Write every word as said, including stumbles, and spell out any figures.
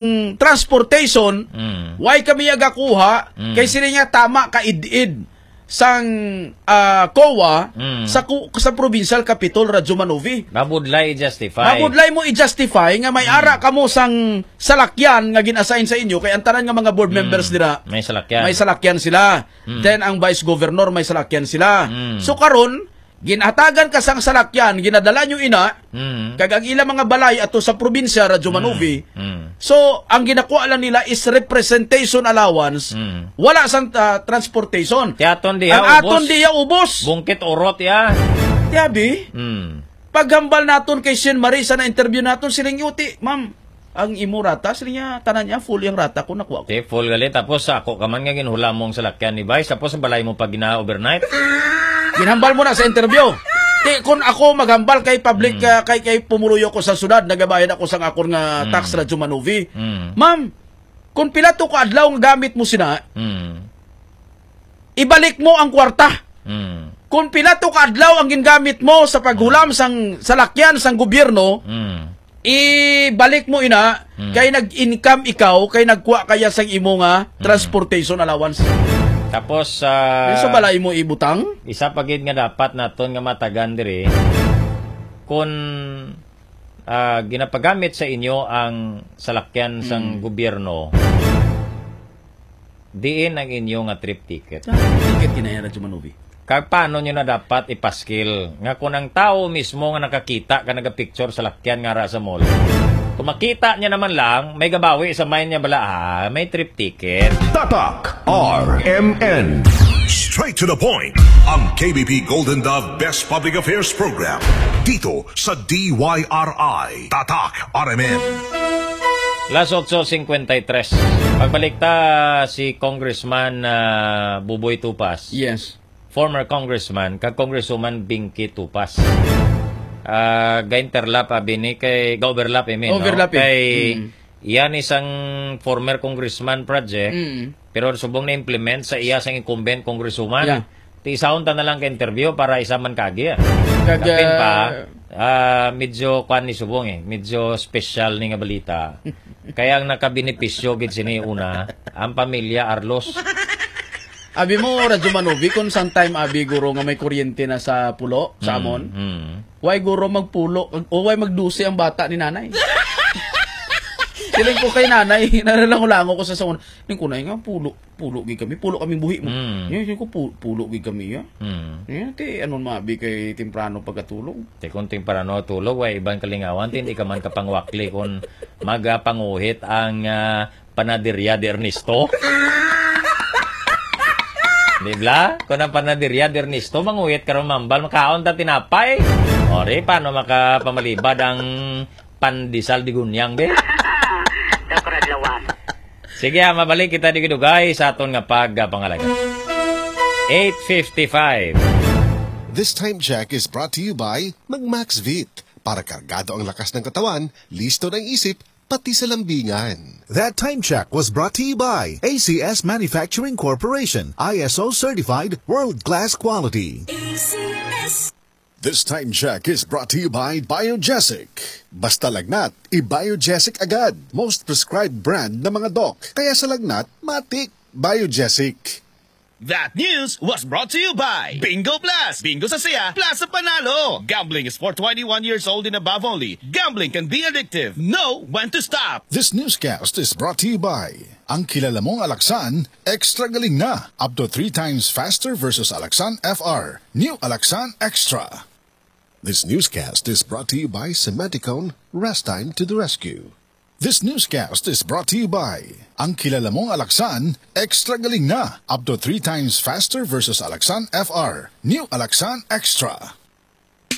mm, transportation, Mm. why kami agakuha, Mm. kay sila nga tama ka id-id sang, ah, COA Mm. sa ku-, sa provincial capitol, Radyo Manovi. Mabudlay i-justify. Mabudlay mo i-justify nga may Mm. ara kamo sang salakyan nga gin-assign sa inyo, kay ang tanan nga mga board Mm. members dira, May salakyan. may salakyan sila. Mm. Then ang vice governor may salakyan sila. Mm. So karon, ginhatagan ka sang salakyan, ginadala nyo ina, Mm. kag ang ilang mga balay ato sa probinsya, Radyo Mm. Manovi. Mm. So, ang ginakuha lang nila is representation allowance, Mm. wala sang, ah, transportation. Ti aton diya Ang aton ubos. diya ubos. Bungkit urot ya. Tiyabi, Mm. paghambal naton kay Shen Marie sa na-interview naton, siling yuti, "Ma'am, ang imo rata," siling niya, "tanan niya, full yang rata ko, nakuha ko." Ti, full gali. Tapos sa ako ka man nga ginhulamong salakyan ni Vice, tapos sa balay mo pag gina-overnight. Ginhambal mo na sa interview. Ti, kung ako maghambal kay public, Mm. ah, kay, kay pumuluyo ko sa syudad, nagabayad ako sang akon nga Mm. tax, Radyo Manovi. Mm. "Ma'am, kung pila to ka adlaw nga gamit mo sina, Mm. ibalik mo ang kwarta. Mm. Kung pila to ka adlaw ang gingamit mo sa paghulam Mm. sang salakyan sang gobyerno, Mm. ibalik mo ina, Mm. kay nag-income ikaw, kay nagkuha kaya sang imo nga Mm. transportation allowance." Tapos, ah, Sa balay mo ibutang? isa pa gid nga dapat naton nga matagan diri, kung, ah, ginapagamit sa inyo ang salakyan sang Mm. gobyerno, diin ang inyo nga trip ticket? Ah, ticket kinaya na, Jumanovi. Kag paano nyo na dapat ipaskil nga kung ang tawo mismo nga nakakita ka nagapicture sa lakyan nga ara sa mall, kung makita niya naman lang, may gabawi sa mind niya bala, ah, may trip ticket. Tatak R M N. Straight to the point. Ang K B P Golden Dove Best Public Affairs Program. Dito sa D Y R I. Tatak R M N. Las otso cincuenta y tres. Pagbalik ta si Congressman, ah, Buboy Tupas. Yes. Former Congressman kag Congresswoman Binky Tupas. Ah, ga-interlap abi ni kay, ga-overlap, I mean, no? Overlap, eh. Kay Mm. iya ni sang former congressman project, Mm. pero subong na-implement sa iya sang incumbent congresswoman. Yeah. Ti isaon ta na lang ka interview para isa man kaagi, ah. Kag, Kapin pa, ah, ah, medyo kwan ni subong, eh. Medyo special ni nga balita. Kaya ang nakabenepisyo gid sini una, ang pamilya Arlos. Abi mo, Radyo Manovi, kung sometime abi guro nga may kuryente na sa pulo, sa Mm, amon, mm. Why guro magpulo, o why magdusi ang bata ni nanay? Siling ko kay nanay, nalalango-lango ko sa sauna. Ning kunay nga, pulo, pulo gid kami, pulo kaming buhi mo. Mm. Yan, siling ko, pu-, pulo gid kami, ya. Mm. Yan, ti, anon maabi kay temprano pagkatulog? Ti, kung temprano tulog, way iban kalingawan, ti, hindi ka man kapangwakli kung magapanguhit ang, ah, panaderia de Ernesto. Di bla? Kung ang panaderia de Ernesto, manguhit karon mambal, makaon ta tinapay. O, di, paano makapamalibad ang pandesal de Gunyang, be? Dokra Lawas. Sige, ah, mabalik kita di dugay sa aton nga pagpangalaga. Eight fifty-five. This time check is brought to you by Mag Maxvit. Para kargado ang lakas ng katawan, listo na ang isip, pati sa lambingan. That time check was brought to you by A C S Manufacturing Corporation, I S O certified, world-class quality. A C S. This time check is brought to you by Biogesic. Basta lagnat, i-Biogesic agad. Most prescribed brand na mga doc. Kaya sa lagnat, matik, Biogesic. That news was brought to you by Bingo Plus. Bingo sa saya, plus sa panalo. Gambling is for twenty-one years old and above only. Gambling can be addictive. Know when to stop. This newscast is brought to you by ang kilala mong Alaxan, extra galing na. Up to three times faster versus Alaxan F R. New Alaxan Extra. This newscast is brought to you by Cementicone, Rest Time to the Rescue. This newscast is brought to you by ang kilala mong Alaxan, extra galing na. Up to three times faster versus Alaxan F R. New Alaxan Extra.